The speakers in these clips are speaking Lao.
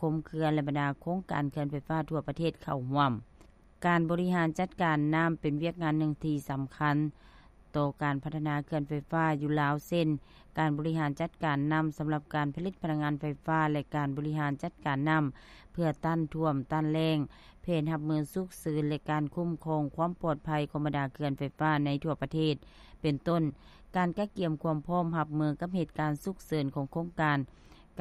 ຄົມເຂື່ອນ ແລະ ບັນດາໂຄງການເຂື່ອນໄຟຟ້າທົ່ວປະເທດເຂົ້າຮ່ວມ. ການບໍລິຫານຈັດການນ້ຳເປັນວຽກງານໜຶ່ງທີ່ສຳຄັນຕໍ່ການພັດທະນາເຂື່ອນໄຟຟ້າຢູ່ລາວ ເຊັ່ນ ການບໍລິຫານຈັດການນ້ຳສຳລັບການຜະລິດພະລັງງານໄຟຟ້າ ແລະ ການບໍລິຫານຈັດການນ້ຳເພື່ອຕ້ານຖ້ວມ, ຕ້ານແລ້ງ, ແຜນຮັບມືສຸກເສີນ ແລະ ການຄຸ້ມຄອງຄວາມປອດໄພຂອງບັນດາເຂື່ອນໄຟຟ້າໃນທົ່ວປະເທດ ເປັນຕົ້ນ ການກະກຽມຄວາມພ້ອມຮັບມືກັບເຫດການສຸກເສີນຂອງໂຄງການ,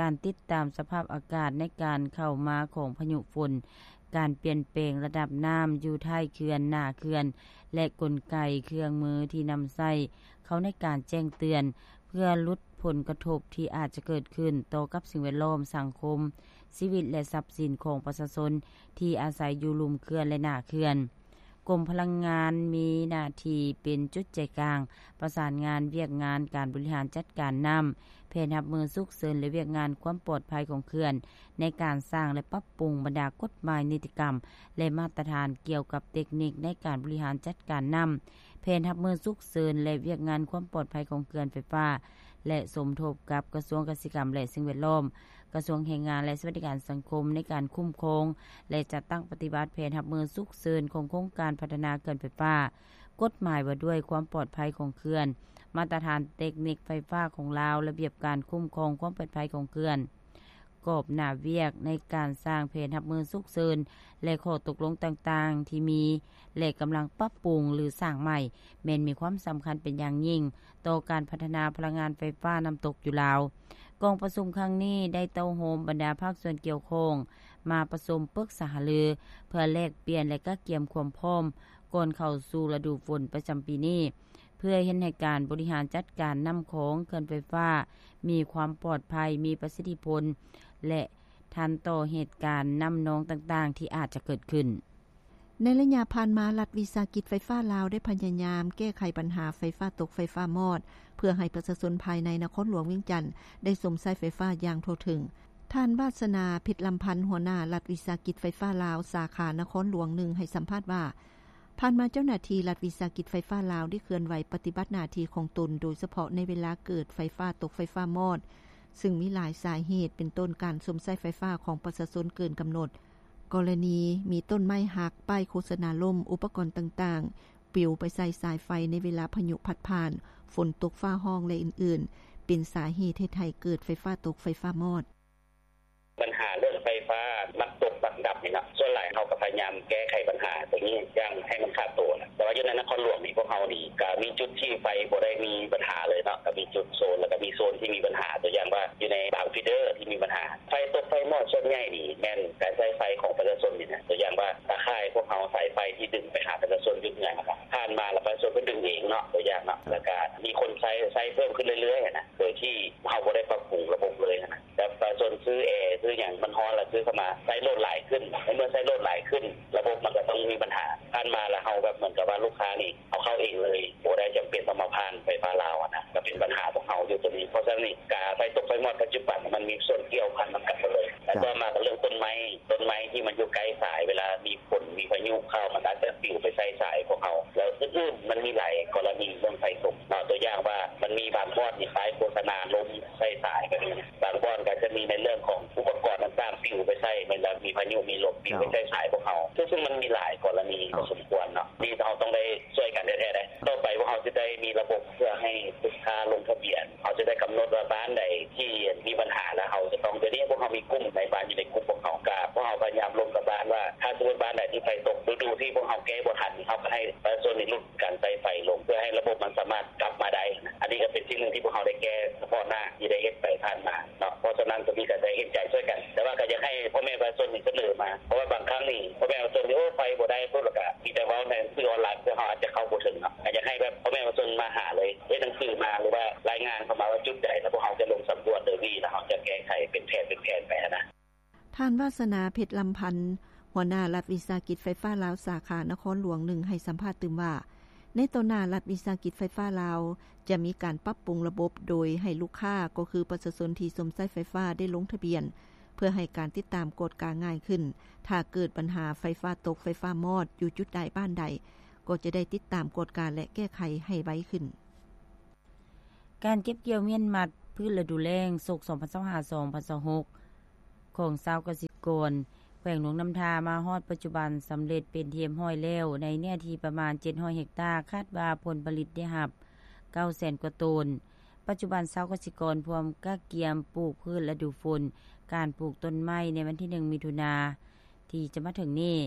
ການຕິດຕາມສະພາບອາກາດໃນການເຂົ້າມາຂອງພາຍຸຝົນ, ການປ່ຽນແປງລະດັບນ້ຳຢູ່ທ້າຍເຂື່ອນ, ໜ້າເຂື່ອນ ແລະ ກົນໄກເຄື່ອງມືທີ່ນຳໃຊ້ເຂົ້າໃນການແຈ້ງເຕືອນ ເພື່ອຫຼຸດຜົນກະທົບທີ່ອາດຈະເກີດຂຶ້ນຕໍ່ກັບສິ່ງແວດລ້ອມ, ສັງຄົມ, ຊີວິດ ແລະ ຊັບສິນຂອງປະຊາຊົນທີ່ອາໄສຢູ່ລຸ່ມເຂື່ອນ ແລະ ໜ້າເຂື່ອນ. ກົມພະລັງງານມີໜ້າທີ່ເປັນຈຸດໃຈກາງ ປະສານງານວຽກງານການບໍລິຫານຈັດການນ້ຳ, ແຜນຮັບມືສຸກເສີນ ແລະ ວຽກງານຄວາມປອດໄພຂອງເຂື່ອນ ໃນການສ້າງ ແລະ ປັບປຸງບັນດາກົດໝາຍ, ນິຕິກຳ ແລະ ມາດຕະຖານກ່ຽວກັບເຕັກນິກໃນການບໍລິຫານຈັດການນ້ຳ, ແຜນຮັບມືສຸກເສີນ ແລະ ວຽກງານຄວາມປອດໄພຂອງເຂື່ອນໄຟຟ້າ ແລະ ສົມທົບກັບກະຊວງກະສິກຳ ແລະ ສິ່ງແວດລ້ອມ, ກະຊວງແຮງງານ ແລະ ສະຫວັດດີການສັງຄົມ ໃນການຄຸ້ມຄອງ ແລະ ຈັດຕັ້ງປະຕິບັດແຜນຮັບມືສຸກເສີນຂອງໂຄງການພັດທະນາເຂື່ອນໄຟຟ້າ, ກົດໝາຍວ່າດ້ວຍຄວາມປອດໄພຂອງເຂື່ອນ, ມາດຕະຖານເຕັກນິກໄຟຟ້າຂອງລາວ, ລະບຽບການຄຸ້ມຄອງຄວາມປອດໄພຂອງເຂື່ອນ, ກອບໜ້າວຽກໃນການສ້າງແຜນຮັບມືສຸກເສີນ ແລະ ຂໍ້ຕົກລົງຕ່າງໆທີ່ມີ ແລະ ກຳລັງປັບປຸງ ຫຼື ສ້າງໃໝ່ ແມ່ນມີຄວາມສຳຄັນເປັນຢ່າງຍິ່ງຕໍ່ການພັດທະນາພະລັງງານໄຟຟ້ານ້ຳຕົກຢູ່ລາວ. ກອງປະຊຸມຄັ້ງນີ້ໄດ້ເຕົ້າໂຮມບັນດາພາກສ່ວນກ່ຽວຂ້ອງ ມາປະຊຸມປຶກສາຫາລື ເພື່ອແລກປ່ຽນ ແລະ ກະກຽມຄວາມພ້ອມກ່ອນເຂົ້າສູ່ລະດູຝົນປະຈຳປີນີ້ ເພື່ອເຮັດໃຫ້ການບໍລິຫານຈັດການນ້ຳຂອງເຂື່ອນໄຟຟ້າມີຄວາມປອດໄພ, ມີປະສິດທິຜົນ ແລະ ທັນຕໍ່ເຫດການນ້ຳນອງຕ່າງໆທີ່ອາດຈະເກີດຂຶ້ນ. ໃນໄລຍະຜ່ານມາ, ລັດວິສາຫະກິດໄຟຟ້າລາວໄດ້ພະຍາຍາມແກ້ໄຂບັນຫາໄຟຟ້າຕົກ, ໄຟຟ້າມອດ ເພື່ອໃຫ້ປະຊາຊົນພາຍໃນນະຄອນຫຼວງວຽງຈັນໄດ້ຊົມໃຊ້ໄຟຟ້າຢ່າງທົ່ວເຖິງ. ທ່ານ ວາດສະໜາ ເພັດລຳພັນ ຫົວໜ້າລັດວິສາຫະກິດໄຟຟ້າລາວ ສາຂານະຄອນຫຼວງໜຶ່ງ ໃຫ້ສຳພາດວ່າ, ຜ່ານມາເຈົ້າໜ້າທີ່ລັດວິສາຫະກິດໄຟຟ້າລາວໄດ້ເຄື່ອນໄຫວປະຕິບັດໜ້າທີ່ຂອງຕົນ, ໂດຍສະເພາະໃນເວລາເກີດໄຟຟ້າຕົກ, ໄຟຟ້າມອດ, ຊຶ່ງມີຫຼາຍສາເຫດ ເປັນຕົ້ນການຊົມໃຊ້ໄຟຟ້າຂອງປະຊາຊົນເກີນກຳນົດ, ກໍລະນີມີຕົ້ນໄມ້ຫັກ, ປ້າຍໂຄສະນາລົ້ມ, ອຸປະກອນຕ່າງໆປິວໄປໃສ່ສາຍໄຟໃນເວລາພາຍຸພັດຜ່ານ, ຝົນຕົກຟ້າຮ້ອງ ແລະ ອື່ນໆ ເປັນສາເຫດເຮັດໃຫ້ເກີດໄຟຟ້າຕົກ, ໄຟຟ້າມອດ. ບັນຫາເລື່ອງໄຟຟ້າມັກຕົກມັກດັບນີ້ເນາະ, ສ່ວນຫຼາຍເຮົາກໍພະຍາຍາມແກ້ໄຂບັນຫາຕົວນີ້ຢ່າງໃຫ້ມັນຂາດໂຕນະ, ແຕ່ວ່າຢູ່ໃນນະຄອນຫຼວງນີ້ ພວກເຮົານີ້ກໍມີຈຸດທີ່ໄຟບໍ່ໄດ້ມີບັນຫາເລີຍເນາະ, ກໍມີຈຸດໂຊນ ແລ້ວກໍມີໂຊນທີ່ມີບັນຫາ, ຕົວຢ່າງວ່າຢູ່ໃນບາງຟີເດີທີ່ມີບັນຫາ. ໄຟຕົກໄຟມອດສ່ວນໃຫຍ່ນີ້ແມ່ນການໃຊ້ໄຟຂອງປະຊາຊົນນີ້ນະ, ຕົວຢ່າງວ່າຕາຂ່າຍພວກເຮົາ, ສາຍໄຟທີ່ດຶງໄປຫາປະຊາຊົນຢູ່ເຮືອນນະ, ຜ່ານມາແລ້ວປະຊາຊົນກໍດຶງເອງເນາະ, ຕົວຢ່າງເນາະ, ແລ້ວກໍມີຄົນໃຊ້, ໃຊ້ເພີ່ມຂຶ້ນເລື້ອຍໆນະ, ໂດຍທີ່ເຮົາບໍ່ໄດ້ປັບປຸງລະບົບເລີຍນະ. ແບບປະຊາຊົນຊື້ແອ, ຊື້ຫຍັງ, ມັນຮ້ອນລະຊື້ເຂົ້າມາ, ໃຊ້ໂຫຼດຫຼາຍຂຶ້ນ. ໃນເມື່ອໃຊ້ໂຫຼດຫຼາຍຂຶ້ນ, ລະບົບມັນກໍຕ້ອງມີບັນຫາ. ຜ່ານມາລະເຮົາແບບເໝືອນກັບວ່າລູກຄ້ານີ້ເອົາເຂົ້າເອງເລີຍ, ບໍ່ໄດ້ຈຳເປັນຕ້ອງມາຜ່ານໄຟຟ້າລາວນະ, ກໍເປັນບັນຫາພວກເຮົາຢູ່ຕົວນີ້. ເພາະສະນັ້ນນີ້ ກາໄຟຕົກໄຟມອດປັດຈຸບັນມັນມີສ່ວນກ່ຽວພັນນຳກັນໝົດເລີຍ. ແລ້ວຕໍ່ມາກໍເລື່ອງຕົ້ນໄມ້, ຕົ້ນໄມ້ທີ່ມັນຢູ່ໃກ້ສາຍ, ເວລາມີຝົນມີພາຍຸເຂົ້າ, ມັນອາດຈະປິວໄປໃສ່ສາຍພວກເຮົາ. ແລ້ວອື່ນໆ ມັນມີຫຼາຍກໍລະນີເລື່ອງໄຟຕົກເນາະ, ຕົວຢ່າງວ່າມັນມີບາງບ່ອນມີປ້າຍໂຄສະນາລົ້ມໃສ່ສາຍແບບນີ້, ບາງບ່ອນກໍຈະມີໃນເລື່ອງຂອງອຸປະກອນຕ່າງໆປິວໄປໃສ່, ເວລາມີພາຍຸມີລົມປິວໄປໃສ່ສາຍພວກເຮົາ, ເຊິ່ງມັນມີຫຼາຍກໍລະນີພໍສົມຄວນເນາະ, ນີ້ເຮົາຕ້ອງໄດ້ຊ່ວຍກັນແທ້ໆເດ້. ຕໍ່ໄປພວກເຮົາຈະໄດ້ມີລະບົບເພື່ອໃຫ້ລູກຄ້າລົງທະບຽນ, ເຮົາຈະໄດ້ກຳນົດວ່າບ້ານໃດທີ່ມີບັນຫາ ແລ້ວເຮົາຈະຕ້ອງ, ດຽວນີ້ພວກເຮົາມີກຸ່ມນາຍບ້ານຢູ່ໃນກຸ່ມພວກເຮົາ, ກະພວກເຮົາພະຍາຍາມລົມກັບບ້ານວ່າ ຖ້າສົມມຸດບ້ານໃດທີ່ໄຟຕົກ, ລະດູທີ່ພວກເຮົາແກ້ບໍ່ທັນ, ເຮົາກໍໃຫ້ປະຊາຊົນນີ້ຫຼຸດການໃຊ້ໄຟລົງ ເພື່ອໃຫ້ລະບົບມັນສາມາດກັບມາໄດ້. ອັນນີ້ກໍເປັນສິ່ງໜຶ່ງທີ່ພວກເຮົາໄດ້ແກ້ສະເພາະໜ້າທີ່ໄດ້ເຮັດໄປຜ່ານມາເນາະ, ເພາະສະນັ້ນຕົວນີ້ກໍໄດ້ເຫັນໃຈຊ່ວຍກັນ, ແຕ່ວ່າກໍຢາກໃຫ້ພໍ່ແມ່ປະຊາຊົນນີ້ສະເໜີມາ, ເພາະວ່າບາງຄັ້ງນີ້ພໍ່ແມ່ປະຊາຊົນນີ້ ໂອ້ ໄຟບໍ່ໄດ້ປຸບ ແລ້ວກໍມີແຕ່ເວົ້າໃນສື່ອອນລາຍ ເພື່ອເຮົາອາດຈະເຂົ້າບໍ່ເຖິງເນາະ, ກໍຢາກໃຫ້ແບບພໍ່ແມ່ປະຊາຊົນມາຫາເລີຍ, ເຮັດໜັງສືມາ ຫຼືວ່າລາຍງານເຂົ້າມາວ່າຈຸດໃດ, ແລ້ວພວກເຮົາຈະລົງສຳຫຼວດໂດຍວີ ແລ້ວເຮົາຈະແກ້ໄຂເປັນແຜນເປັນແຜນໄປຫັ້ນນະ. ທ່ານ ວາດສະໜາ ເພັດລຳພັນ ຫົວໜ້າລັດວິສາຫະກິດໄຟຟ້າລາວ ສາຂານະຄອນຫຼວງໜຶ່ງ ໃຫ້ສຳພາດຕື່ມວ່າ, ໃນຕໍ່ໜ້າລັດວິສາຫະກິດໄຟຟ້າລາວຈະມີການປັບປຸງລະບົບ ໂດຍໃຫ້ລູກຄ້າ ກໍຄືປະຊາຊົນທີ່ຊົມໃຊ້ໄຟຟ້າໄດ້ລົງທະບຽນ ເພື່ອໃຫ້ການຕິດຕາມກວດກາງ່າຍຂຶ້ນ. ຖ້າເກີດບັນຫາໄຟຟ້າຕົກ, ໄຟຟ້າມອດ ຢູ່ຈຸດໃດ, ບ້ານໃດ, ກໍຈະໄດ້ຕິດຕາມກວດກາ ແລະ ແກ້ໄຂໃຫ້ໄວຂຶ້ນ. ການເກັບກ່ຽວມ້ຽນມັດພືດລະດູແລ້ງ ສົກສອງພັນຊາວຫ້າ ສອງພັນຊາວຫົກ ຂອງຊາວກະສິກອນແຂວງຫຼວງນ້ຳທາມາຮອດປັດຈຸບັນສຳເລັດເປັນທີ່ຮຽບຮ້ອຍແລ້ວ ໃນເນື້ອທີ່ປະມານເຈັດຮ້ອຍເຮັກຕາ, ຄາດວ່າຜົນຜະລິດໄດ້ຮັບເກົ້າແສນກວ່າໂຕນ. ປັດຈຸບັນຊາວກະສິກອນພວມກະກຽມປູກພືດລະດູຝົນ, ການປູກຕົ້ນໄມ້ໃນວັນທີໜຶ່ງ ມິຖຸນາທີ່ຈະມາເຖິງນີ້.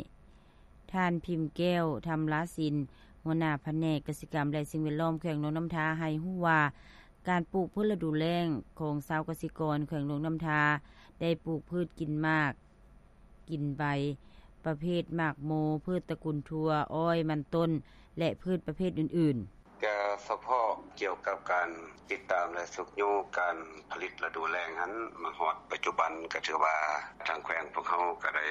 ທ່ານ ພິມແກ້ວ ທຳລາສິນ ຫົວໜ້າພະແນກກະສິກຳ ແລະ ສິ່ງແວດລ້ອມແຂວງຫຼວງນ້ຳທາ ໃຫ້ຮູ້ວ່າ ການປູກພືດລະດູແລ້ງຂອງຊາວກະສິກອນແຂວງຫຼວງນ້ຳທາ ໄດ້ປູກພືດກິນໝາກ ກິນໃບ ປະເພດໝາກໂມ, ພືດຕະກຸນຖົ່ວ, ອ້ອຍ, ມັນຕົ້ນ ແລະ ພືດປະເພດອື່ນໆ. ກະສະເພາະກ່ຽວກັບການຕິດຕາມ ແລະ ຊຸກຍູ້ການຜະລິດລະດູແລ້ງຫັ້ນ ມາຮອດປັດຈຸບັນ ກະຖືວ່າທາງແຂວງພວກເຮົາກະໄດ້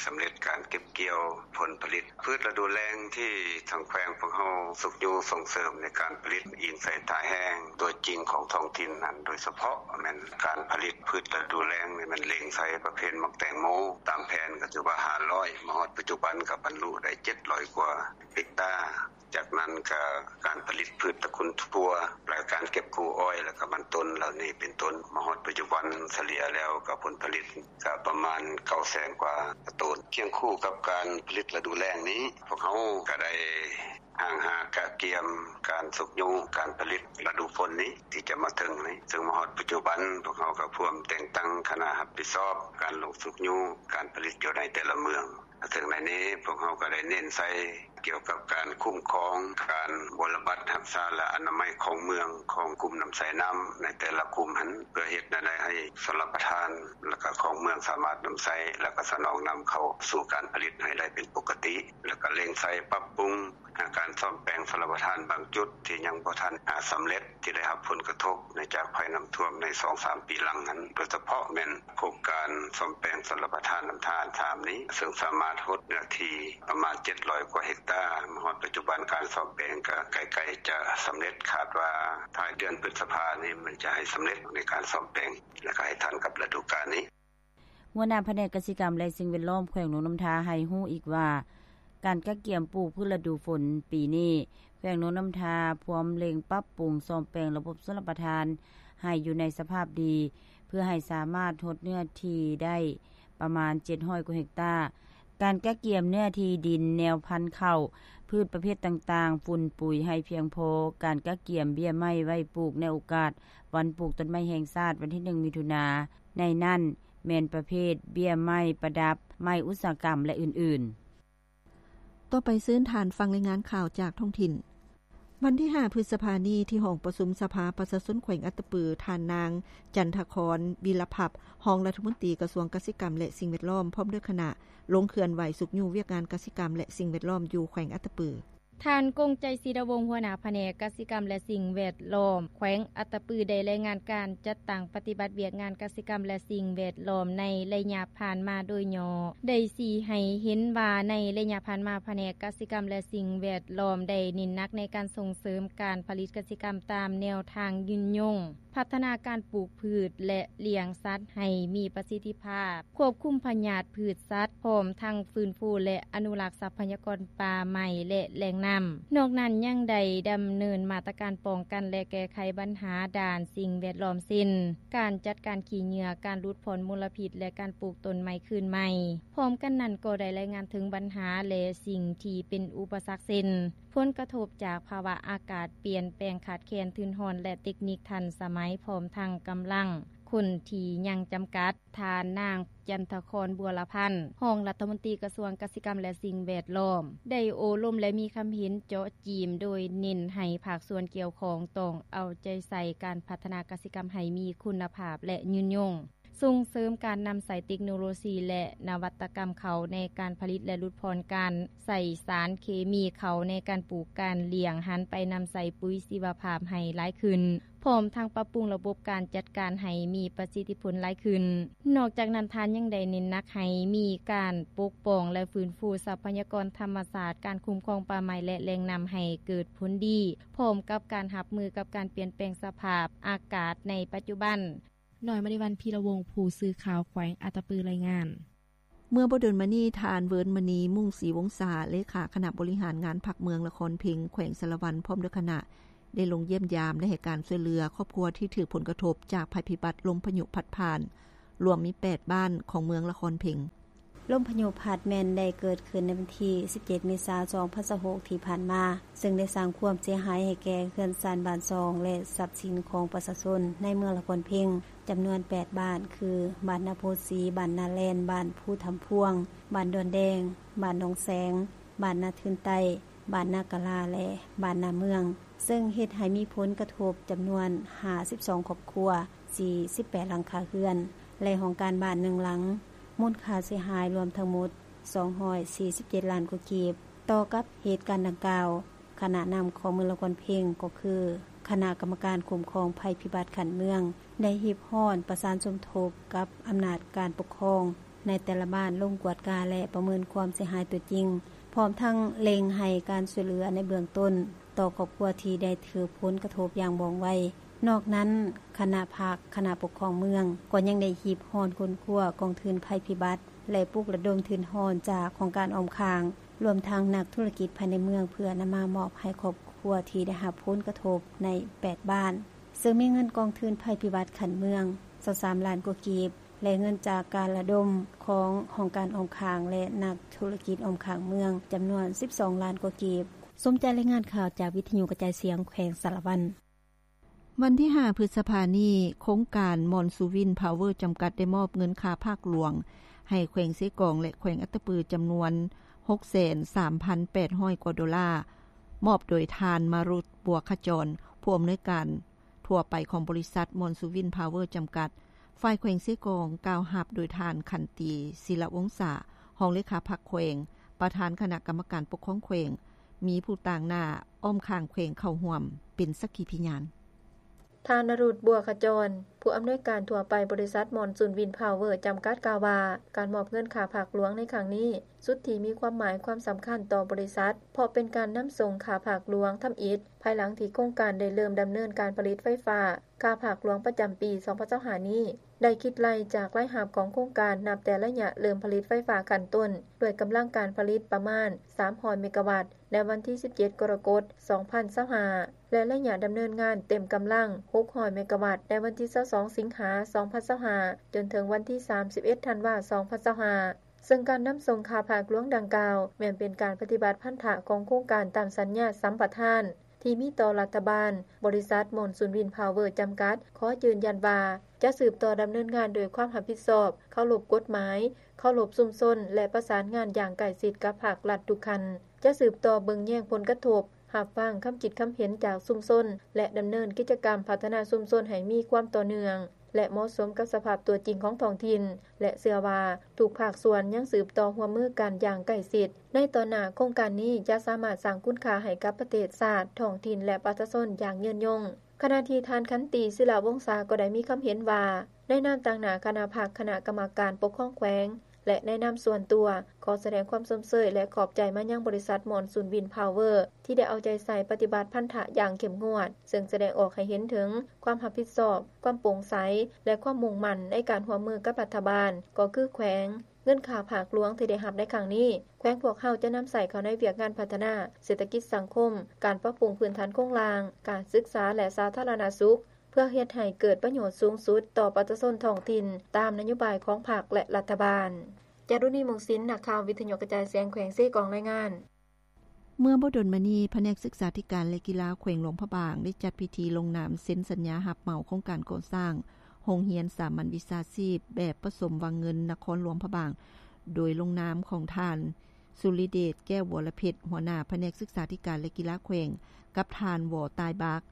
ສຳເລັດການເກັບກ່ຽວຜົນຜະລິດພືດລະດູແລ້ງ ທີ່ທາງແຂວງພວກເຮົາຊຸກຍູ້ສົ່ງເສີມໃນການຜະລິດ ອີງໃສ່ທ່າແຮງຕົວຈິງຂອງທ້ອງຖິ່ນນັ້ນ ໂດຍສະເພາະແມ່ນການຜະລິດພືດລະດູແລ້ງນີ້ ແມ່ນເລັງໃສ່ປະເພດໝາກແຕງໂມ. ຕາມແຜນກະຖືວ່າຫ້າຮ້ອຍ ມາຮອດປັດຈຸບັນກະບັນລຸໄດ້ເຈັດຮ້ອຍກວ່າເຮັກຕາ. ຈາກນັ້ນກະການຜະລິດພືດຕະກຸນຖົ່ວ ແລະ ການເກັບກູ້ອ້ອຍ ແລະ ກະມັນຕົ້ນເຫຼົ່ານີ້ເປັນຕົ້ນ ມາຮອດປັດຈຸບັນສະເລ່ຍແລ້ວກະຜົນຜະລິດກະປະມານເກົ້າແສນກວ່າໂຕນ. ຄຽງຄູ່ກັບການຜະລິດລະດູແລ້ງນີ້ ພວກເຮົາກະໄດ້ຮ່າງຫາກະກຽມການຊຸກຍູ້ການຜະລິດລະດູຝົນນີ້ ທີ່ຈະມາເຖິງນີ້ ເຊິ່ງມາຮອດປັດຈຸບັນ ພວກເຮົາກະພວມແຕ່ງຕັ້ງຄະນະຮັບຜິດຊອບການລົງຊຸກຍູ້ການຜະລິດຢູ່ໃນແຕ່ລະເມືອງ. ເຊິ່ງໃນນີ້ພວກເຮົາກະໄດ້ເນັ້ນໃສ່ກ່ຽວກັບການຄຸ້ມຄອງ ການບົວລະບັດຮັກສາ ແລະ ອະນາໄມຂອງເມືອງ ຂອງກຸ່ມນຳໃຊ້ນ້ຳໃນແຕ່ລະກຸ່ມຫັ້ນ ເພື່ອເຮັດແນວໃດໃຫ້ຊົນລະປະທານ ແລະ ກະຂອງເມືອງສາມາດນຳໃຊ້ ແລະ ກະສະໜອງນ້ຳເຂົ້າສູ່ການຜະລິດໃຫ້ໄດ້ເປັນປົກກະຕິ ແລະ ກະເລັ່ງໃສ່ປັບປຸງ ການສ້ອມແປງຊົນລະປະທານບາງຈຸດທີ່ຍັງບໍ່ທັນ ອາ ສຳເລັດ ທີ່ໄດ້ຮັບຜົນກະທົບເນື່ອງຈາກໄພນ້ຳຖ້ວມໃນສອງສາມປີຫຼັງຫັ້ນ ໂດຍສະເພາະແມ່ນໂຄງການສ້ອມແປງຊົນລະປະທານນ້ຳທານສາມນີ້ ເຊິ່ງສາມາດຫົດເນື້ອທີ່ປະມານເຈັດຮ້ອຍກວ່າເຮັກຕາ. ມາຮອດປັດຈຸບັນການສ້ອມແປງກະໃກ້ໆຈະສຳເລັດ ຄາດວ່າທ້າຍເດືອນພຶດສະພານີ້ມັນຈະໃຫ້ສຳເລັດໃນການສ້ອມແປງ ແລະ ກະໃຫ້ທັນກັບລະດູການນີ້. ຫົວໜ້າພະແນກກະສິກຳ ແລະ ສິ່ງແວດລ້ອມແຂວງຫຼວງນ້ຳທາໃຫ້ຮູ້ອີກວ່າ ການກະກຽມປູກພືດລະດູຝົນປີນີ້ ແຂວງຫຼວງນ້ຳທາພວມເລັ່ງປັບປຸງສ້ອມແປງລະບົບຊົນລະປະທານໃຫ້ຢູ່ໃນສະພາບດີ ເພື່ອໃຫ້ສາມາດຫົດເນື້ອທີ່ໄດ້ປະມານເຈັດຮ້ອຍກວ່າເຮັກຕາ, ການກະກຽມເນື້ອທີ່ດິນ, ແນວພັນເຂົ້າ, ພືດປະເພດຕ່າງໆ, ຝຸ່ນປຸຍໃຫ້ພຽງພໍ, ການກະກຽມເບ້ຍໄມ້ໄວ້ປູກໃນໂອກາດວັນປູກຕົ້ນໄມ້ແຫ່ງຊາດ ວັນທີໜຶ່ງ ມິຖຸນາ, ໃນນັ້ນແມ່ນປະເພດເບ້ຍໄມ້ປະດັບ, ໄມ້ອຸດສາຫະກຳ ແລະ ອື່ນໆ. ຕໍ່ໄປເຊີນທ່ານຟັງລາຍງານຂ່າວຈາກທ້ອງຖິ່ນ. ວັນທີຫ້າ ພຶດສະພານີ້ ທີ່ຫ້ອງປະຊຸມສະພາປະຊາຊົນແຂວງອັດຕະປື, ທ່ານນາງ ຈັນທະຄອນ ວິລະພັບ ຮອງລັດຖະມົນຕີກະຊວງກະສິກຳ ແລະ ສິ່ງແວດລ້ອມ ພ້ອມດ້ວຍຄະນະ ລົງເຄື່ອນໄຫວຊຸກຍູ້ວຽກງານກະສິກຳ ແລະ ສິ່ງແວດລ້ອມຢູ່ແຂວງອັດຕະປື. ທ່ານ ກົງໄຈ ສີດາວົງ ຫົວໜ້າພະແນກກະສິກຳ ແລະ ສິ່ງແວດລ້ອມແຂວງອັດຕະປື ໄດ້ລາຍງານການຈັດຕັ້ງປະຕິບັດວຽກງານກະສິກຳ ແລະ ສິ່ງແວດລ້ອມໃນໄລຍະຜ່ານມາໂດຍຫຍໍ້, ໄດ້ຊີ້ໃຫ້ເຫັນວ່າໃນໄລຍະຜ່ານມາ ພະແນກກະສິກຳ ແລະ ສິ່ງແວດລ້ອມ ໄດ້ເນັ້ນໜັກໃນການສົ່ງເສີມການຜະລິດກະສິກຳຕາມແນວທາງຍືນຍົງ, ພັດທະນາການປູກພືດ ແລະ ລ້ຽງສັດໃຫ້ມີປະສິດທິພາບ, ຄວບຄຸມພະຍາດພືດສັດ, ພ້ອມທັງຟື້ນຟູ ແລະ ອະນຸລັກຊັບພະຍາກອນປ່າໄມ້ ແລະ ແຫຼ່ງນ້ຳ. ນອກນັ້ນຍັງໄດ້ດຳເນີນມາດຕະການປ້ອງກັນ ແລະ ແກ້ໄຂບັນຫາດ້ານສິ່ງແວດລ້ອມ ເຊັ່ນ ການຈັດການຂີ້ເຫຍື້ອ, ການຫຼຸດຜ່ອນມົນລະພິດ ແລະ ການປູກຕົ້ນໄມ້ຄືນໃໝ່. ພ້ອມກັນນັ້ນກໍໄດ້ລາຍງານເຖິງບັນຫາ ແລະ ສິ່ງທີ່ເປັນອຸປະສັກ ເຊັ່ນ ຜົນກະທົບຈາກພາວະອາກາດປ່ຽນແປງ, ຂາດແຄນທຶນຮອນ ແລະ ເຕັກນິກທັນສະໄໝ, ພ້ອມທັງກຳລັງຄົນທີ່ຍັງຈຳກັດ. ທ່ານນາງ ຈັນທະຄອນ ບົວລະພັນ ຮອງລັດຖະມົນຕີກະຊວງກະສິກຳ ແລະ ສິ່ງແວດລ້ອມ ໄດ້ໂອ້ລົມ ແລະ ມີຄຳເຫັນເຈາະຈີ້ມ ໂດຍເນັ້ນໃຫ້ພາກສ່ວນກ່ຽວຂ້ອງຕ້ອງເອົາໃຈໃສ່ການພັດທະນາກະສິກຳໃຫ້ມີຄຸນນະພາບ ແລະ ຍືນຍົງ, ສົ່ງເສີມການນຳໃຊ້ເຕັກໂນໂລຊີ ແລະ ນະວັດຕະກຳເຂົ້າໃນການຜະລິດ ແລະ ຫຼຸດຜ່ອນການໃຊ້ສານເຄມີເຂົ້າໃນການປູກການລ້ຽງ, ຫັນໄປນຳໃຊ້ປຸຍຊີວະພາບໃຫ້ຫຼາຍຂຶ້ນ. ພ້ອມທັງປັບປຸງລະບົບການຈັດການໃຫ້ມີປະສິດທິຜົນຫຼາຍຂຶ້ນ. ນອກຈາກນັ້ນ, ທ່ານຍັງໄດ້ເນັ້ນໜັກໃຫ້ມີການປົກປ້ອງ ແລະ ຟື້ນຟູຊັບພະຍາກອນທຳມະຊາດ, ການຄຸ້ມຄອງປ່າໄມ້ ແລະ ແຫຼ່ງນ້ຳໃຫ້ເກີດຜົນດີ, ພ້ອມກັບການຮັບມືກັບການປ່ຽນແປງສະພາບອາກາດໃນປັດຈຸບັນ. ນ້ອຍມະນີວັນ ພີລະວົງ ຜູ້ສື່ຂ່າວແຂວງອັດຕະປື ລາຍງານ. ເມື່ອບໍ່ດົນມານີ້, ທ່ານ ເວີນມະນີ ມຸ້ງສີວົງສາ ເລຂາຄະນະບໍລິຫານງານພັກເມືອງນະຄອນເພັງ ແຂວງສາລະວັນ ພ້ອມດ້ວຍຄະນະ ໄດ້ລົງຢ້ຽມຢາມ ແລະ ໃຫ້ການຊ່ວຍເຫຼືອຄອບຄົວທີ່ຖືກຜົນກະທົບຈາກໄພພິບັດລົມພາຍຸພັດຜ່ານ ລວມມີແປດບ້ານຂອງເມືອງລະຄອນເພັງ. ລົມພາຍຸພັດແມ່ນໄດ້ເກີດຂຶ້ນໃນວັນທີສິບເຈັດ ເມສາ ສອງພັນຊາວຫົກ ທີ່ຜ່ານມາ, ເຊິ່ງໄດ້ສ້າງຄວາມເສຍຫາຍໃຫ້ແກ່ເຮືອນຊານບ້ານຊ່ອງ ແລະ ຊັບສິນຂອງປະຊາຊົນໃນເມືອງລະຄອນເພັງ ຈຳນວນແປດບ້ານ ຄື ບ້ານນາໂພສີ, ບ້ານນາແລນ, ບ້ານພູທຳພວງ, ບ້ານດອນແດງ, ບ້ານໜອງແສງ, ບ້ານນາທຶນໃຕ້, ບ້ານນາກະລາ ແລະ ບ້ານນາເມືອງ, ເຊິ່ງເຮັດໃຫ້ມີຜົນກະທົບຈຳນວນຫ້າສິບສອງຄອບຄົວ, ສີ່ສິບແປດຫຼັງຄາເຮືອນ ແລະ ຫ້ອງການບ້ານໜຶ່ງຫຼັງ, ມູນຄ່າເສຍຫາຍລວມທັງໝົດສອງຮ້ອຍສີ່ສິບເຈັດລ້ານກວ່າກີບ. ຕໍ່ກັບເຫດການດັ່ງກ່າວ, ຄະນະນຳຂອງເມືອງລະຄອນເພັງ ກໍຄື ຄະນະກຳມະການຄຸ້ມຄອງໄພພິບັດຂັ້ນເມືອງ ໄດ້ຮີບຮ້ອນປະສານສົມທົບກັບອຳນາດການປົກຄອງໃນແຕ່ລະບ້ານ ລົງກວດກາ ແລະ ປະເມີນຄວາມເສຍຫາຍຕົວຈິງ, ພ້ອມທັງເລັ່ງໃຫ້ການຊ່ວຍເຫຼືອໃນເບື້ອງຕົ້ນຕໍ່ຄອບຄົວທີ່ໄດ້ຖືກຜົນກະທົບຢ່າງວ່ອງໄວ. ນອກນັ້ນ, ຄະນະພັກ, ຄະນະປົກຄອງເມືອງ ກໍຍັງໄດ້ຮີບຮ້ອນຄົ້ນຄວ້າກອງທຶນໄພພິບັດ ແລະ ປຸກລະດົມທຶນຮ້ອນຈາກໂຄງການອ້ອມຂ້າງ, ລວມທັງນັກທຸລະກິດພາຍໃນເມືອງ ເພື່ອນຳມາມອບໃຫ້ຄອບຄົວທີ່ໄດ້ຮັບຜົນກະທົບໃນແປດບ້ານ, ເຊິ່ງມີເງິນກອງທຶນໄພພິບັດຂັ້ນເມືອງຊາວສາມລ້ານກວ່າກີບ ແລະ ເງິນຈາກການລະດົມຂອງຫ້ອງການອ້ອມຂ້າງ ແລະ ນັກທຸລະກິດອ້ອມຂ້າງເມືອງ ຈຳນວນສິບສອງລ້ານກວ່າກີບ. ສົມໃຈລາຍງານຂ່າວຈາກວິທະຍຸກະຈາຍສຽງແຂວງສາລະວັນ. ວັນທີຫ້າ ພຶດສະພານີ້, ໂຄງການມອນຊູວິນພາວເວີ ຈຳກັດ ໄດ້ມອບເງິນຄ່າຜາກຫຼວງໃຫ້ແຂວງເຊກອງ ແລະ ແຂວງອັດຕະປື ຈຳນວນຫົກແສນສາມພັນແປດຮ້ອຍກວ່າໂດລາ, ມອບໂດຍທ່ານ ມາລຸດ ບົວຂະຈອນ ຜູ້ອຳນວຍການທົ່ວໄປຂອງບໍລິສັດມອນຊູວິນພາວເວີ ຈຳກັດ. ຝ່າຍແຂວງເຊກອງ ກ່າວຮັບໂດຍທ່ານ ຂັນຕີ ສິລະວົງສາ ຮອງເລຂາພັກແຂວງ, ປະທານຄະນະກຳມະການປົກຄອງແຂວງ, ມີຜູ້ຕາງໜ້າອ້ອມຂ້າງແຂວງເຂົ້າຮ່ວມເປັນສັກຂີພະຍານ. ທ່ານ ນະລຸດ ບົວຂະຈອນ ຜູ້ອຳນວຍການທົ່ວໄປບໍລິສັດມອນຊູນວິນພາວເວີ ຈຳກັດ ກ່າວວ່າ ການມອບເງິນຄ່າຜາກຫຼວງໃນຄັ້ງນີ້ ສຸດທີ່ມີຄວາມໝາຍຄວາມສຳຄັນຕໍ່ບໍລິສັດ ເພາະເປັນການນຳສົ່ງຄ່າຜາກຫຼວງທຳອິດ ພາຍຫຼັງທີ່ໂຄງການໄດ້ເລີ່ມດຳເນີນການຜະລິດໄຟຟ້າ. ຄ່າຜາກຫຼວງປະຈຳປີສອງພັນຊາວຫ້ານີ້ ໄດ້ຄິດໄລ່ຈາກລາຍຮັບຂອງໂຄງການ ນັບແຕ່ໄລຍະເລີ່ມຜະລິດໄຟຟ້າຂັ້ນຕົ້ນ ດ້ວຍກຳລັງການຜະລິດປະມານສາມຮ້ອຍເມກາວັດ ໃນວັນທີສິບເຈັດ ກໍລະກົດ ສອງພັນຊາວຫ້າ ແລະ ໄລຍະດຳເນີນງານເຕັມກຳລັງຫົກຮ້ອຍເມກາວັດ ໃນວັນທີຊາວສອງ ສິງຫາ ສອງພັນຊາວຫ້າ ຈົນເຖິງວັນທີສາມສິບເອັດ ທັນວາ ສອງພັນຊາວຫ້າ. ເຊິ່ງການນຳສົ່ງຄ່າຜາກຫຼວງດັ່ງກ່າວ ແມ່ນເປັນການປະຕິບັດພັນທະຂອງໂຄງການຕາມສັນຍາສຳປະທານ ທີ່ມີຕໍ່ລັດຖະບານ, ບໍລິສັດມອນຊູນວິນພາວເວີ ຈຳກັດ ຂໍຢືນຢັນວ່າ ຈະສືບຕໍ່ດຳເນີນງານດ້ວຍຄວາມຮັບຜິດຊອບ, ເຄົາລົບກົດໝາຍ, ເຄົາລົບຊຸມຊົນ ແລະ ປະສານງານຢ່າງໃກ້ຊິດກັບພາກລັດທຸກຂັ້ນ, ຈະສືບຕໍ່ເບິ່ງແຍງຜົນກະທົບ, ຮັບຟັງຄຳຄິດຄຳເຫັນຈາກຊຸມຊົນ ແລະ ດຳເນີນກິດຈະກຳພັດທະນາຊຸມຊົນໃຫ້ມີຄວາມຕໍ່ເນື່ອງ ແລະ ເໝາະສົມກັບສະພາບຕົວຈິງຂອງທ້ອງຖິ່ນ ແລະ ເຊື່ອວ່າທຸກພາກສ່ວນຍັງສືບຕໍ່ຮ່ວມມືກັນຢ່າງໃກ້ຊິດ. ໃນຕໍ່ໜ້າ, ໂຄງການນີ້ຈະສາມາດສ້າງຄຸນຄ່າໃຫ້ກັບປະເທດຊາດ, ທ້ອງຖິ່ນ ແລະ ປະຊາຊົນຢ່າງຍືນຍົງ. ຂະນະທີ່ທ່ານ ຂັນຕີ ສິລະວົງສາ ກໍໄດ້ມີຄຳເຫັນວ່າ ໃນນາມຕາງໜ້າຄະນະພັກ, ຄະນະກຳມະການປົກຄອງແຂວງ ແລະ ໃນນາມສ່ວນຕົວ, ຂໍສະແດງຄວາມຊົມເຊີຍ ແລະ ຂອບໃຈມາຍັງບໍລິສັດມອນຊູນວິນພາວເວີ ທີ່ໄດ້ເອົາໃຈໃສ່ປະຕິບັດພັນທະຢ່າງເຂັ້ມງວດ, ເຊິ່ງສະແດງອອກໃຫ້ເຫັນເຖິງຄວາມຮັບຜິດຊອບ, ຄວາມໂປ່ງໃສ ແລະ ຄວາມມຸ່ງໝັ້ນໃນການຮ່ວມມືກັບລັດຖະບານ, ກໍຄືແຂວງ. ເງິນຄ່າຜາກຫຼວງທີ່ໄດ້ຮັບໃນຄັ້ງນີ້, ແຂວງພວກເຮົາຈະນຳໃຊ້ເຂົ້າໃນວຽກງານພັດທະນາເສດຖະກິດສັງຄົມ, ການປັບປຸງພື້ນຖານໂຄງລ່າງ, ການສຶກສາ ແລະ ສາທາລະນະສຸກ, ເພື່ອເຮັດໃຫ້ເກີດປະໂຫຍດສູງສຸດຕໍ່ປະຊາຊົນທ້ອງຖິ່ນ ຕາມນະໂຍບາຍຂອງພັກ ແລະ ລັດຖະບານ. ຈາລຸນີ ມົງສິນ, ນັກຂ່າວວິທະຍຸກະຈາຍສຽງແຂວງເຊກອງ ລາຍງານ. ເມື່ອບໍ່ດົນມານີ້, ພະແນກສຶກສາທິການ ແລະ ກິລາແຂວງຫຼວງພະບາງ ໄດ້ຈັດພິທີລົງນາມເຊັນສັນຍາຮັບເໝົາໂຄງການກໍ່ສ້າງໂຮງຮຽນສາມັນວິຊາຊີບແບບປະສົມວັງເງິນນະຄອນຫຼວງພະບາງ, ໂດຍລົງນາມຂອງທ່ານ ສຸລິເດດ ແກ້ວວໍລະເພັດ ຫົວໜ້າພະແນກສຶກສາທິການ ແລະ ກິລາແຂວງ, ກັບທ່ານ ວໍ ຕາຍບາກ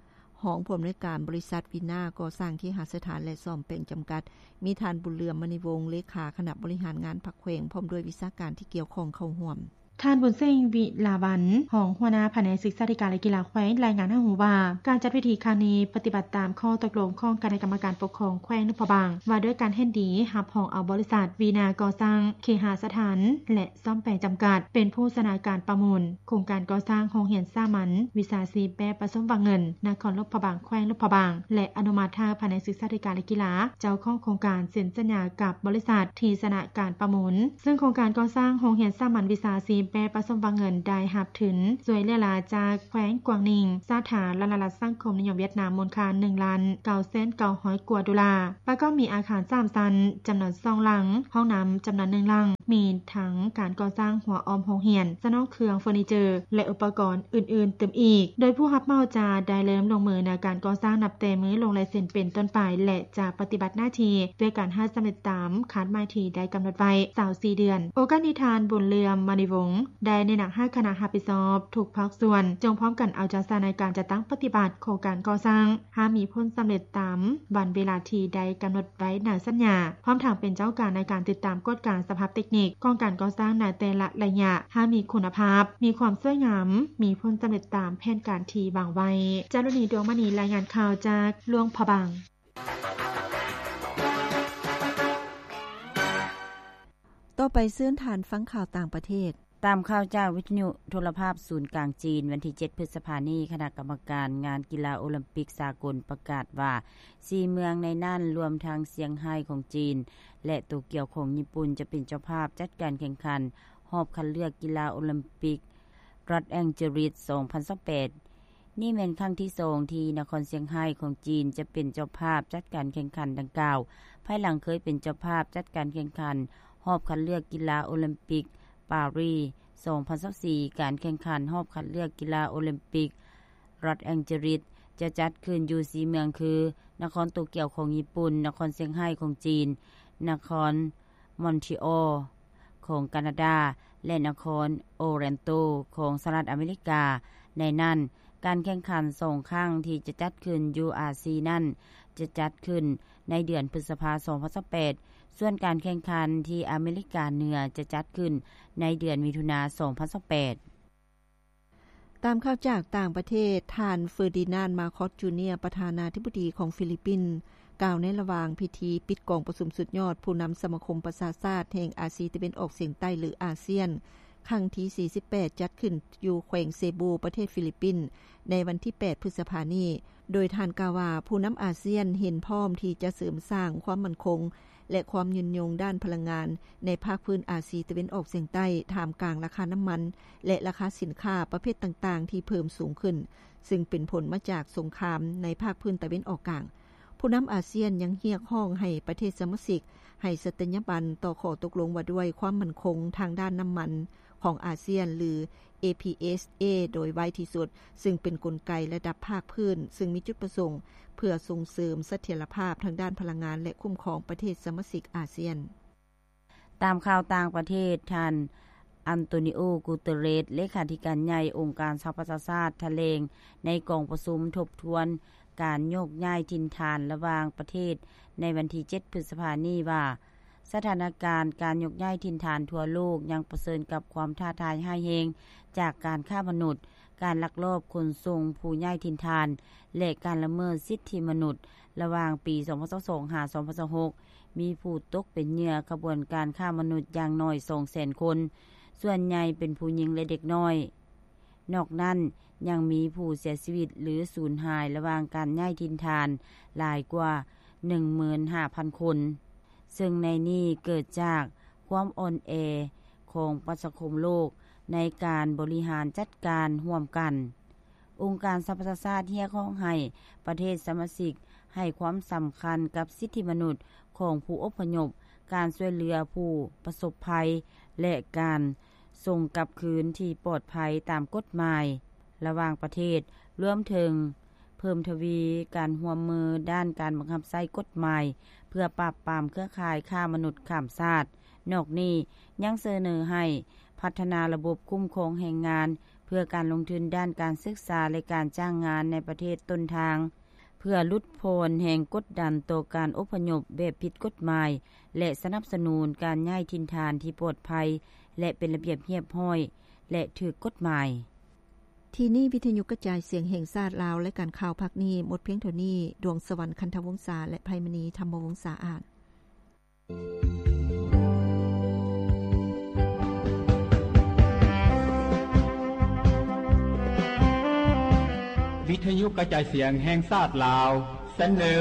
ຮອງຜູ້ອຳນວຍການບໍລິສັດວີນາກໍ່ສ້າງເຄຫະສະຖານ ແລະ ສ້ອມແປງຈຳກັດ, ມີທ່ານ ບຸນເຫຼືອມ ມະນີວົງ ເລຂາຄະນະບໍລິຫານງານພັກແຂວງ ພ້ອມດ້ວຍວິຊາການທີ່ກ່ຽວຂ້ອງເຂົ້າຮ່ວມ. ທ່ານ ບຸນເສັງ ວິລາວັນ ຮອງຫົວໜ້າພະແນກສຶກສາທິການ ແລະ ກິລາແຂວງ ລາຍງານໃຫ້ຮູ້ວ່າ ການຈັດພິທີຄັ້ງນີ້ປະຕິບັດຕາມຂໍ້ຕົກລົງຂອງຄະນະກຳມະການປົກຄອງແຂວງຫຼວງພະບາງ ວ່າດ້ວຍການເຫັນດີຮັບຮອງເອົາບໍລິສັດວີນາກໍ່ສ້າງເຄຫະສະຖານ ແລະ ສ້ອມແປງຈຳກັດ ເປັນຜູ້ຊະນະການປະມູນໂຄງການກໍ່ສ້າງໂຮງຮຽນສາມັນວິຊາຊີບແບບປະສົມວັງເງິນນະຄອນຫຼວງພະບາງ ແຂວງຫຼວງພະບາງ ແລະ ອະນຸມັດໃຫ້ພະແນກສຶກສາທິການ ແລະ ກິລາ ເຈົ້າຂອງໂຄງການເຊັນສັນຍາກັບບໍລິສັດທີ່ຊະນະການປະມູນ, ເຊິ່ງໂຄງການກໍ່ສ້າງໂຮງຮຽນສາມັນວິຊາຊີບ ແປປະສົມຫວັງເງິນໄດ້ຮັບທຶນຊ່ວຍເຫຼືອຫຼາຈາກແຂວງກວາງນິງ ສາທາລະນະລັດສັງຄົມນິຍົມຫວຽດນາມ ມູນຄ່າໜຶ່ງລ້ານເກົ້າແສນເກົ້າຮ້ອຍກວ່າໂດລາ, ປະກອບມີອາຄານສາມຊັ້ນ ຈຳນວນສອງຫຼັງ, ຫ້ອງນ້ຳຈຳນວນໜຶ່ງຫຼັງ, ມີທັງການກໍ່ສ້າງຮົ້ວອ້ອມໂຮງຮຽນ, ສະໜອງເຄື່ອງເຟີນີເຈີ ແລະ ອຸປະກອນອື່ນໆຕື່ມອີກ, ໂດຍຜູ້ຮັບເໝົາຈະໄດ້ເລີ່ມລົງມືໃນການກໍ່ສ້າງນັບແຕ່ມື້ລົງລາຍເຊັນເປັນຕົ້ນໄປ ແລະ ຈະປະຕິບັດໜ້າທີ່ດ້ວຍການໃຫ້ສຳເລັດຕາມຄາດໝາຍທີ່ໄດ້ກຳນົດໄວ້ຊາວສີ່ເດືອນ. ໂອກາດນີ້ ທ່ານ ບຸນເຫຼືອມ ມະນີວົງ ໄດ້ແນະນຳໃຫ້ຄະນະຮັບຜິດຊອບທຸກພາກສ່ວນ ຈົ່ງພ້ອມກັນເອົາໃຈໃສ່ໃນການຈັດຕັ້ງປະຕິບັດໂຄງການກໍ່ສ້າງ ໃຫ້ມີຜົນສຳເລັດຕາມວັນເວລາທີ່ໄດ້ກຳນົດໄວ້ໃນສັນຍາ, ພ້ອມທັງເປັນເຈົ້າການໃນການຕິດຕາມກວດກາສະພາບເຕັກນິກຂອງການກໍ່ສ້າງໃນແຕ່ລະໄລຍະ ໃຫ້ມີຄຸນນະພາບ, ມີຄວາມສວຍງາມ, ມີຜົນສຳເລັດຕາມແຜນການທີ່ວາງໄວ້. ຈາລຸນີ ດວງມະນີ ລາຍງານຂ່າວຈາກຫຼວງພະບາງ. ຕໍ່ໄປເຊີນທ່ານຟັງຂ່າວຕ່າງປະເທດ. ຕາມຂ່າວຈາກວິທະຍຸໂທລະພາບສູນກາງຈີນ, ວັນທີເຈັດ ພຶດສະພານີ້, ຄະນະກຳມະການງານກິລາໂອລິມປິກສາກົນປະກາດວ່າ ສີ່ເມືອງໃນນັ້ນ, ລວມທັງຊຽງໄຮ້ຂອງຈີນ ແລະ ໂຕກຽວຂອງຍີ່ປຸ່ນ, ຈະເປັນເຈົ້າພາບຈັດການແຂ່ງຂັນຮອບຄັດເລືອກກິລາໂອລິມປິກ ລັອດແອງເຈີລິສ ສອງພັນຊາວແປດ. ນີ້ແມ່ນຄັ້ງທີສອງທີ່ນະຄອນຊຽງໄຮ້ຂອງຈີນຈະເປັນເຈົ້າພາບຈັດການແຂ່ງຂັນດັ່ງກ່າວ, ພາຍຫຼັງເຄີຍເປັນເຈົ້າພາບຈັດການແຂ່ງຂັນຮອບຄັດເລືອກກິລາໂອລິມປິກປາຣີສອງພັນຊາວສີ່. ການແຂ່ງຂັນຮອບຄັດເລືອກກິລາໂອລິມປິກລັອດແອງເຈີລິສຈະຈັດຂຶ້ນຢູ່ສີ່ເມືອງຄື ນະຄອນໂຕກຽວຂອງຍີ່ປຸ່ນ, ນະຄອນຊຽງໄຮ້ຂອງຈີນ, ນະຄອນ ມອນທຣີອອລຂອງການາດາ ແລະ ນະຄອນໂອແລນໂຕຂອງສະຫະລັດອາເມລິກາ. ໃນນັ້ນ, ການແຂ່ງຂັນສອງຄັ້ງທີ່ຈະຈັດຂຶ້ນຢູ່ອາຊີນັ້ນ ຈະຈັດຂຶ້ນໃນເດືອນພຶດສະພາ ສອງພັນຊາວແປດ, ສ່ວນການແຂ່ງຂັນທີ່ອາເມລິກາເໜືອຈະຈັດຂຶ້ນໃນເດືອນມິຖຸນາ ສອງພັນຊາວແປດ. ຕາມຂ່າວຈາກຕ່າງປະເທດ, ທ່ານ ເຟີດີນານ ມາຄອສ ຈູເນຍ ປະທານາທິບໍດີຂອງຟີລິບປິນ ກ່າວໃນລະຫວ່າງພິທີປິດກອງປະຊຸມສຸດຍອດຜູ້ນຳສະມາຄົມປະຊາຊາດແຫ່ງອາຊີຕາເວັນອອກສຽງໃຕ້ ຫຼື ອາຊຽນ ຄັ້ງທີສີ່ສິບແປດ ຈັດຂຶ້ນຢູ່ແຂວງເຊບູ ປະເທດຟີລິບປິນ ໃນວັນທີແປດ ພຶດສະພານີ້, ໂດຍທ່ານກ່າວວ່າ ຜູ້ນຳອາຊຽນເຫັນພ້ອມທີ່ຈະເສີມສ້າງຄວາມໝັ້ນຄົງ ແລະ ຄວາມຍືນຍົງດ້ານພະລັງງານໃນພາກພື້ນອາຊີຕາເວັນອອກສຽງໃຕ້ ທ່າມກາງລາຄານ້ຳມັນ ແລະ ລາຄາສິນຄ້າປະເພດຕ່າງໆທີ່ເພີ່ມສູງຂຶ້ນ, ຊຶ່ງເປັນຜົນມາຈາກສົງຄາມໃນພາກພື້ນຕາເວັນອອກກາງ. ຜູ້ນຳອາຊຽນຍັງຮຽກຮ້ອງໃຫ້ປະເທດສະມາຊິກໃຫ້ສັດຕະຍາບັນຕໍ່ຂໍ້ຕົກລົງວ່າດ້ວຍຄວາມໝັ້ນຄົງທາງດ້ານນ້ຳມັນຂອງອາຊຽນ ຫຼື ເອ ພີ ເອສ ເອ ໂດຍໄວທີ່ສຸດ, ຊຶ່ງເປັນກົນໄກລະດັບພາກພື້ນ ຊຶ່ງມີຈຸດປະສົງເພື່ອສົ່ງເສີມສະຖຽນລະພາບທາງດ້ານພະລັງງານ ແລະ ຄຸ້ມຄອງປະເທດສະມາຊິກອາຊຽນ. ຕາມຂ່າວຕ່າງປະເທດ, ທ່ານ ອັນໂຕນີໂອ ກູເຕີເຣສ ເລຂາທິການໃຫຍ່ອົງການສະຫະປະຊາຊາດ ຖະແຫຼງໃນກອງປະຊຸມທົບທວນການໂຍກຍ້າຍຖິ່ນຖານລະຫວ່າງປະເທດໃນວັນທີເຈັດ ພຶດສະພານີ້ວ່າ ສະຖານະການການໂຍກຍ້າຍຖິ່ນຖານທົ່ວໂລກຍັງປະເຊີນກັບຄວາມທ້າທາຍຮ້າຍແຮງຈາກການຄ້າມະນຸດ, ການລັກລອບຂົນສົ່ງຜູ້ຍ້າຍຖິ່ນຖານ ແລະ ການລະເມີດສິດທິມະນຸດ. ລະຫວ່າງປີສອງພັນຊາວສອງ ຫາ ສອງພັນຊາວຫົກ ມີຜູ້ຕົກເປັນເຫຍື່ອຂະບວນການຄ້າມະນຸດຢ່າງໜ້ອຍສອງແສນຄົນ, ສ່ວນໃຫຍ່ເປັນຜູ້ຍິງ ແລະ ເດັກນ້ອຍ. ນອກນັ້ນ, ຍັງມີຜູ້ເສຍຊີວິດ ຫຼື ສູນຫາຍລະຫວ່າງການຍ້າຍຖິ່ນຖານຫຼາຍກວ່າໜຶ່ງໝື່ນຫ້າພັນຄົນ, ເຊິ່ງໃນນີ້ເກີດຈາກຄວາມອ່ອນແອຂອງປະຊາຄົມໂລກໃນການບໍລິຫານຈັດການຮ່ວມກັນ. ອົງການສະຫະປະຊາຊາດຮຽກຮ້ອງໃຫ້ປະເທດສະມາຊິກໃຫ້ຄວາມສຳຄັນກັບສິດທິມະນຸດຂອງຜູ້ອົບພະຍົບ, ການຊ່ວຍເຫຼືອຜູ້ປະສົບໄພ ແລະ ການສົ່ງກັບຄືນທີ່ປອດໄພຕາມກົດໝາຍລະຫວ່າງປະເທດ, ລວມເຖິງເພີ່ມທະວີການຮ່ວມມືດ້ານການບັງຄັບໃຊ້ກົດໝາຍ ເພື່ອປາບປາມເຄືອຂ່າຍຄ້າມະນຸດຂ້າມຊາດ. ນອກນີ້ຍັງສະເໜີໃຫ້ພັດທະນາລະບົບຄຸ້ມຄອງແຮງງານ ເພື່ອການລົງທຶນດ້ານການສຶກສາ ແລະ ການຈ້າງງານໃນປະເທດຕົ້ນທາງ, ເພື່ອຫຼຸດຜ່ອນແຮງກົດດັນຕໍ່ການອົບພະຍົບແບບຜິດກົດໝາຍ ແລະ ສະໜັບສະໜູນການຍ້າຍຖິ່ນຖານທີ່ປອດໄພ ແລະ ເປັນລະບຽບຮຽບຮ້ອຍ ແລະ ຖືກກົດໝາຍ. ທີ່ນີ້ວິທະຍຸກະຈາຍສຽງແຫ່ງຊາດລາວ, ລາຍການຂ່າວພາກນີ້ໝົດພຽງເທົ່ານີ້. ດວງສະຫວັນ ຄັນທະວົງສາ ແລະ ໄພມະນີ ທຳມະວົງສາ ອານ. ວິທະຍຸກະຈາຍສຽງແຫ່ງຊາດລາວ ສະເໜີ